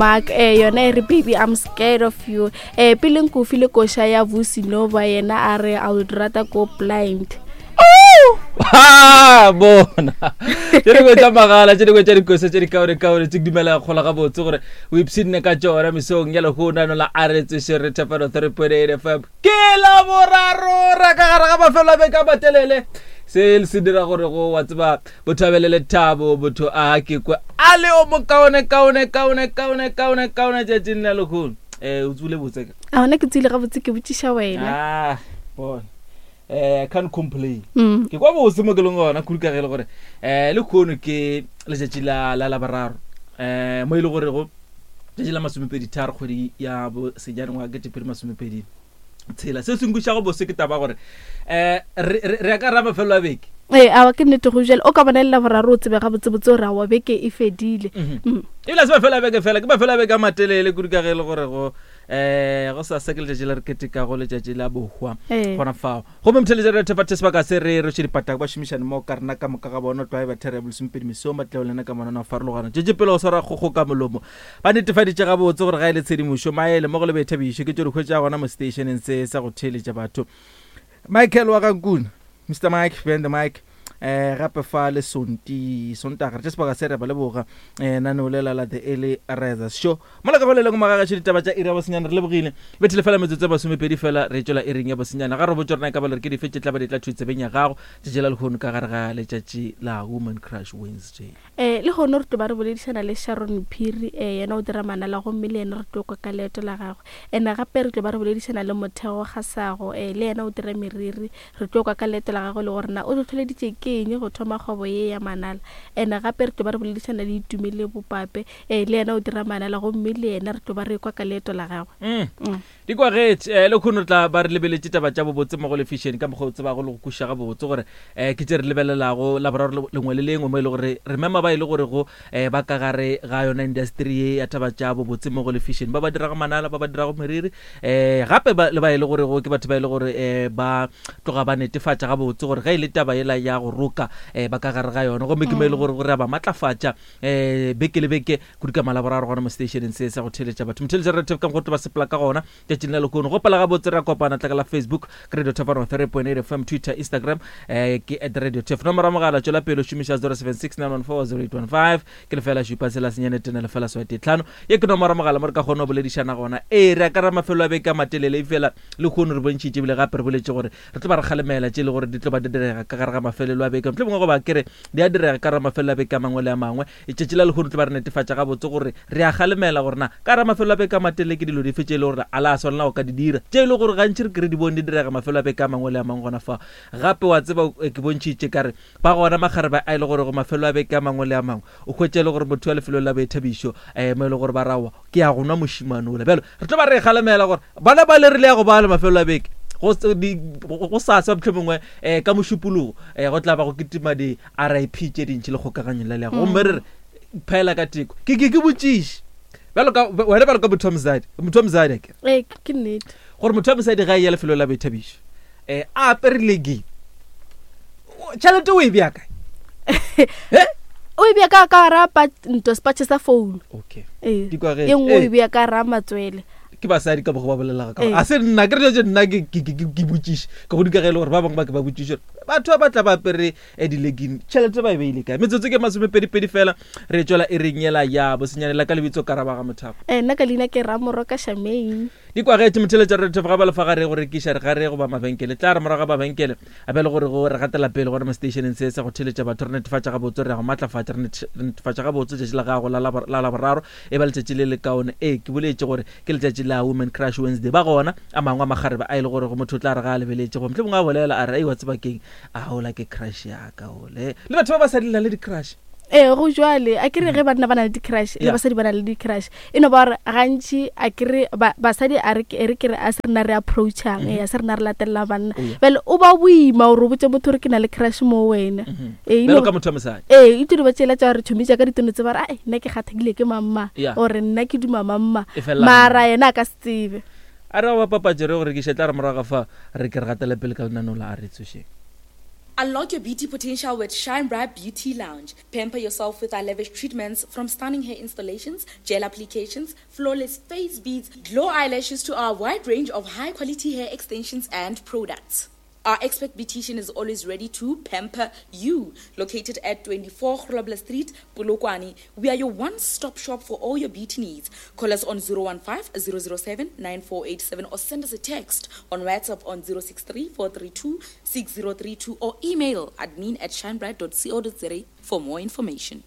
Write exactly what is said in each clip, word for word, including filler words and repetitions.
Mark eh yona e re baby I'm scared of you eh pele nko file koša ya Vusi Nova yena a re I would rather go blind Ha bona tše dingwe tša magala tše dingwe tša dikosa tše dikaonekaone tše ke dumela kgola gabotse gore o ipshinne ka tšona mesong ya lehono la a re tsoše re thapelo three point eight fm ke la boraro ra ka gare ga mafelo a beke a matelele se se dira gore go wa tseba botho a be le lethabo botho a ke kwe a le o mokaone kaone kaone kaone kaone kaone tšatšing la lehono um o tsule botse ka a gona ke tsile gabotse ke botšiša wena ah bona eh can't complain Mm. ke kwa botse mo ke leng gona kudu ka ge e le gore um le kgono ke letšatši la la laboraro um mo e le gorego letšatši la masomepedi tharo kgwedi ya bosenyane ngwaga ketepedi masomepedi tshela se se nkušago bose ke taba gore um re re ya ka ra mafelo a beke ee awa ke nnete go jale o ka bona le laboraro o tsebe gabotsebotse gore awa beke e fedile Mm. ebile a se mafelo a beke fela ke mafelo a beke a matelele kudu ka ge e le gore go um go sa se ke letšatši le re ketekago letšatši la bohwa Ee. gona fao gomme motheletša re thefa sebaka se re roše dipatako ba šomišane mo ka rena ka moka ga bona tlwae ba thera ya bolesomepedi mesong ba tleo lena ka monana go farologana tšetše pele go swara kgogo ka molomo ba netefaditše gabotse gore ga e le tshedimošo maele mo go le boithabišo ke tšo di hwetša gona mo stationeng se sa go theeletša batho michael wa gankuna mr mike behind the mic eh gape fa le sonti sontaga re tše sebaka se re ba leboga eh naneo lela la the early risers show mola ka go le lengwe magagašo ditaba tša iri ya bosenyane re lebogile bethele fela metsotso e masomepedi fela re tšwela iring ya bosenyane ga re botse rena ka ba le re ke dife tše tla ba di tla thwi tsebeng ya gago tšatši la lehono ka gare ga letšatši la woman crush wednesday um le gone re tlo ba re boledišana le sharon phiri um yena o dira manala gomme le yena re tlo kwa ka leeto la gagwe and gape re tlo ba re boledišana le motheo gasago um le yena o dira meriri re tlo kwa ka leeto la gagwe le gore na o tlhotlheleditše ke eng go thoma kgwebo ye ya manala and gape re tlo ba re boledišana le itumele bopape um le yena o dira manala gomme le yena re tlo ba re kwa ka leeto la gagwe mm. Mm. di kwagetše um le kgono re tla ba re lebeletše taba tša bobotse mo go lefišene ka mokgwa o tsebago le go kuša gabotse gore um ke tše re lebelelago laboraro le- lengwe le lengwe mo e le gore re mema ba e le gore go um ba ka gare ga yona industry ye ya taba tša bobotse mo go lefišene ba ba dirago manala ba ba dirago meriri um gape ba- le ba e le gore go ke batho ba e le gore um ba tloga ba netefatša gabotse gore ge e le taba yela ya go roka um ba ka gare ga yona gomme ke mo e le gore gore a ba matlafatša um beke le beke kudu ka malaboraro gona mo stationeng se sa go theeletša batho motheeletša re ka go ba sepela ka gona tšatšing la lehono gopela gabotse re a kopana tla ka la facebook ke radio tafano three point eight fm twitter instagram um ke at radio tef nomoro ya mogala tšwela pele o šomiša zero seven six nine one four zero eight one five ke lefela šupa tshela senyane tene lefela swate tlhano ye ke nomoro ya mogala mo re ka kgona go boledišana gona ee re akara mafelo a beke a matelele e fela le kgono re bontšhitše ebile gape re boletse gore re tlo ba re kgalemela tše e le gore di tlo ba di direga ka gare ga mafelelo a beke mohlomongwe goba ke re di a direga ka gare ga mafelelo a beke a mangwe le a mangwe letšatši la lehono tlo ba re netefatša gabotse gore re a kgalemela gore na ka gare ga mafelo a beke a matelele ke dilo dife tše e le gore a la swanela go ka di dira tše e le gore gantši re ke re di bone di direga mafelo a beke a mangwe le a mangwe gona fa gape wa tseba eh, ke bontšhitše ka re ba gona makgarebe a e le gore go mafelo a beke a mangwe le a mangwe o hwetše e le gore motho wa lefelong la boithabišo um mo e le gore ba rawa ke ya go nwa mošimane ola bjalo re tlo ba re kgalemela gore bana ba le rile ya go ba le mafelo a beke go se- di- go go sasa mohlomongwe um ka mošupologo um go tla ba go kitima di-r i p tše dintšhi le kgokaganyong la leago gomme re re phela ka teko ke ke ke botšiše bjalo ka wena bjalo ka motho wa mosadi motho wa mosadi akere ee ke nnete gore motho wa mosadi ga e ya lefelo la boithabišo um a apere legging tšhelete o e bea kae Eh? o e bea ka ka gara pa- nto sepatšhe sa phone okay ee Di kwagetše. e nngwe o Ee. e bea ka gara matswele ke basadi ka bogo ba bolelaga ka Ee. a se nna ke re tše nna ke ke- ke ke botšiše ka go dika ge e le gore ba bangwe ba ke ba botšiše gore batho ba ba tla ba apere eh, di-legging tšhelete ba e beile kae metsotso ke masomepedipedi fela re tswela e reng yela ya bosenyanela ka lebitso karaba ga mothapo ee nna ka leina ke ramoroka shamane di kwagetše motheletša re ga ba lefa gare go rekiša re gare goba mabenkele tla re morago ga mabenkele a be le gore go re gatela pele gona mo stationeng se sa go theletša batho re netefatša gabotse re ya go matlafatša re nete- re netefatša gabotse letšatši la gago la labo- la laboraro e ba letšatši le lekaone ee ke boletše gore ke letšatši la women crush wednesday ba gona a mangwe a makgarebe a e le gore go motho o tla re ga a lebeletše go mohlomongwe a bolela a re ei wa tseba keng a ola ke crush yaka ole le batho ba ba sa di na le di-crush ee go jwale a kere ge banna ba na le di-crush le Yeah. basadi ba na le di-crush e no ba gore gantši a kere ba- basadi a re ke e re kere a se rena re approachang ee a se rena re latelela banna Oh, yeah. bjale o ba boima gore o botse motho gore ke na le crush mo wena Ee, e bjalo no- ka motho wa mosadi ee e tiro ba tsela tša gore tšhomi tša ka ditono tse ba re ai nna ke kgathekile ke mamma Yeah. ore nna ke duma mamma E fela mara yena a ka se tsebe a re ba papatše re go rekiša tla re morago ga fa re ke re gatele pele ka lenaneo la a re tsošeng Unlock your beauty potential with Shine Bright Beauty Lounge. Pamper yourself with our lavish treatments, from stunning hair installations, gel applications, flawless face beads, glow eyelashes to our wide range of high quality hair extensions and products. Our expert beautician is always ready to pamper you. Located at twenty-four Grobler Street, Polokwane, we are your one-stop shop for all your beauty needs. Call us on zero one five, zero zero seven, nine four eight seven or send us a text on WhatsApp on zero six three, four three two, six zero three two or email admin at shinebright dot co dot za for more information.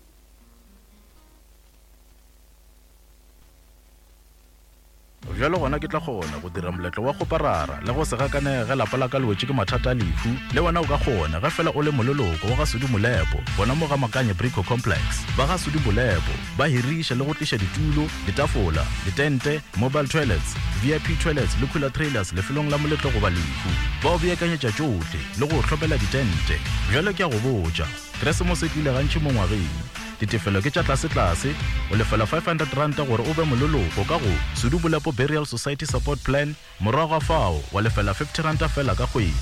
Bjalo gona ke tla kgona go dira moletlo wa go parara le go se gakanege ge lapa la ka le wetše ke mathata a lehu. Le wena o ka kgona ge fela o le moleloko wa ga Sudi Molepo, gona mo ga Makanye Brico Complex. Ba ga Sudi Molepo ba hiriša le go tliša ditulo, ditafola, ditente, mobile toilets, V I P toilets le cooler trailers lefelong la moletlo goba lehu. Ba o beakanyetša tšohle le go hlopela ditente. Bjalo ke a go botša, Keresemose e tlile gantši mo ngwageng. Ditefelo ke tša tlase-tlase, o lefela five hundred ranta gore o be moleloko ka go Sudi Molepo Burial Society Support Plan, morago ga fao wa lefela fifty ranta fela ka kgwedi.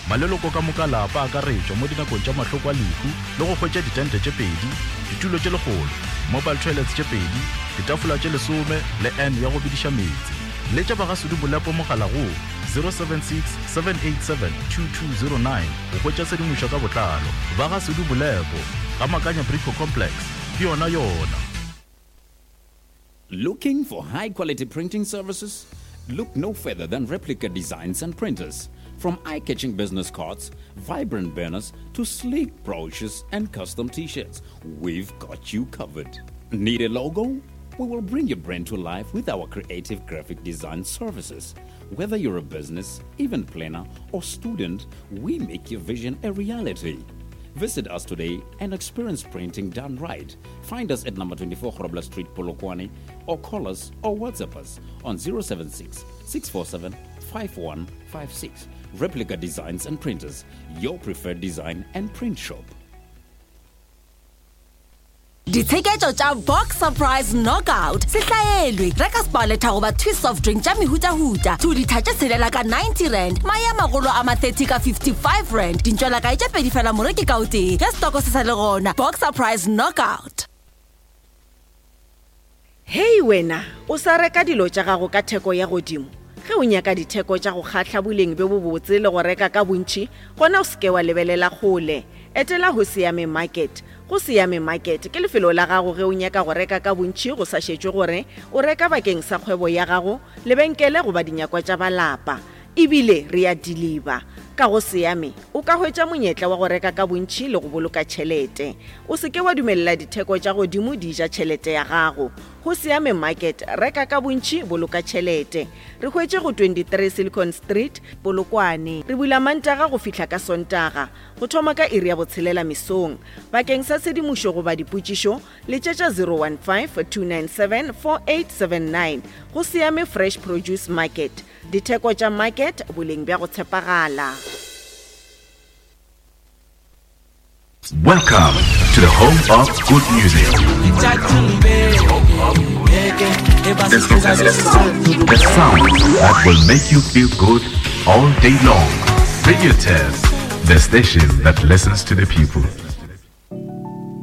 Maleloko ka moka lapa a akaretšwa mo dinakong tša mahloko a lehu le go hwetša ditente tše pedi, ditulo tše lekgolo, mobile toilets tše pedi, ditafola tše lesome le N ya go bediša meetse. Letša ba ga Sudi Molepo mogala go zero seven six, seven eight seven, two two zero nine go hwetša tshedimošo ka botlalo. Ba ga Sudi Molepo ga Makanya Brico Complex, ke yona yona. Looking for high quality printing services? Look no further than Replica Designs and Printers. From eye-catching business cards, vibrant banners, to sleek brochures and custom t-shirts, we've got you covered. Need a logo? We will bring your brand to life with our creative graphic design services. Whether you're a business, event planner, or student, we make your vision a reality. Visit us today and experience printing done right. Find us at number twenty-four Grobler Street, Polokwane, or call us or WhatsApp us on zero seven six, six four seven, five one five six. Replica Designs and Printers, your preferred design and print shop. Ditsheketšo tša Box Surprise Knockout se hlaelwe. Reka Sparletta goba Twist soft drink tša mehutahuta two litha tše tshelela ka ninety rand, mae a magolo a ma thirty ka fifty-five rand, dintšwela kae tše pedi fela moreki ka o tee ge stoko se sa le gona. Box Surprise Knockout. Hei wena, o sa reka dilo tša gago ka theko ya godimo. Ge o nyaka ditheko tša go kgahla boleng bjo bobotse le go reka ka bontši, gona o seke wa lebelela kgole. Etela ho Siame Market. Go Siame Market ke lefelo la gago ge o nyaka go reka ka bontši go sa šetšwe gore o reka bakeng sa kgwebo ya gago, lebenkele goba dinyakwa tša balapa. Ebile re a deliver. Ka go Siame o ka hwetša monyetla wa go reka ka bontši le go boloka tšhelete. O seke wa dumelela ditheko tša godimo di ja tšhelete ya gago. Go Siame Market, reka ka bontši, boloka tšhelete. Re hwetše go twenty-three Silicon Street, Polokwane. Re bula Mantaga go fihla ka Sontaga, go thoma ka iri ya botshelela mesong. Bakeng sa tshedimošo goba dipotšišo, letšetša zero one five, two nine seven, four eight seven nine. Go Siame Fresh Produce Market. Ditheko tša market, boleng bja go tshepagala. Welcome to the home of good music. The sound that will make you feel good all day long. Radio Tez, the station that listens to the people.